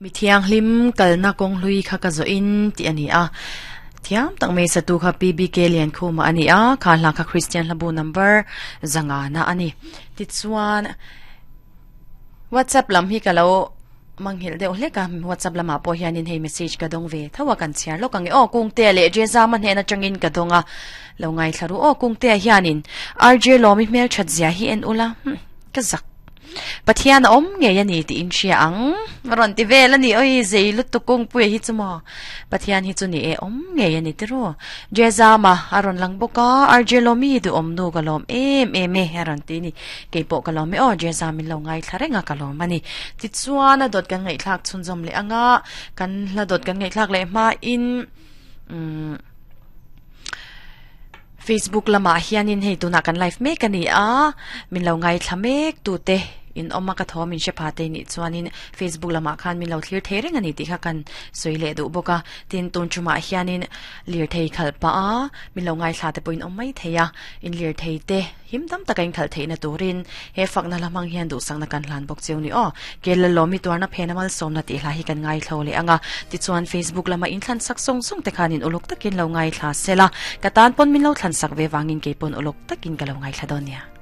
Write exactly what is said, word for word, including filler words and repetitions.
Mi thiang hlim kalna kawng hlui kha ka zawh in tih a ni a thiam tak mai satu kha P B K Liankhuma a ni a kha hla kha Christian hlabu number zanga na a ni tichuan WhatsApp lam hi ka lo manghilh deuh hlek a WhatsApp lamah pawh hianin hei message ka dawng ve tho a kan chhiar lawk ang e aw Kungtea leh Jezama hnehna atangin ka dawng a lo ngaithla ru aw Kungtea hianin R J Lawmi hmel that zia hi en ula hm ka zak Pathian a awm ngei a ni tih in hria ang rawn ti vel a ni oi zei lutuk kawngpui hi chu maw Pathian hi chu ni e awm ngei a ni tiru Jezama a rawn lang bawk a R J Lawmi duhawm nu ka lawm em em e a rawn ti ni keipawh ka lawm e aw Jezam min lo ngaithla reng a ka lawm a ni tichuan a dawt kan ngaihthlak chhunzawm leh anga kan hla dawt kan ngaihthlak leh hmain umm Facebook lamah hianin hei tunah kan live mek a ni a min lo ngaithla mek tute in awm a ka thaw min hre pha te nih chuanin Facebook lamah khan min lo thlir thei reng a ni tih kha kan sawi leh duh bawk a tin tun tumah hianin lir thei khalh pah a min lo ngaithla te pawhin awm mai thei a in lir thei te him tam taka in khalh theihna turin he fakna hla hmang hian duhsakna kan hlan bawk cheu ni aw Kel Lawmi tuarna phena malsawmna tih hla hi kan ngaithlo leh anga tichuan Facebook lama in thlan sak sawng sawng te khanin uluk takin lo ngaithla sela ka tan pawn min lo thlan sak ve wangin kei pawn uluk takin ka lo ngaithla dawn nia.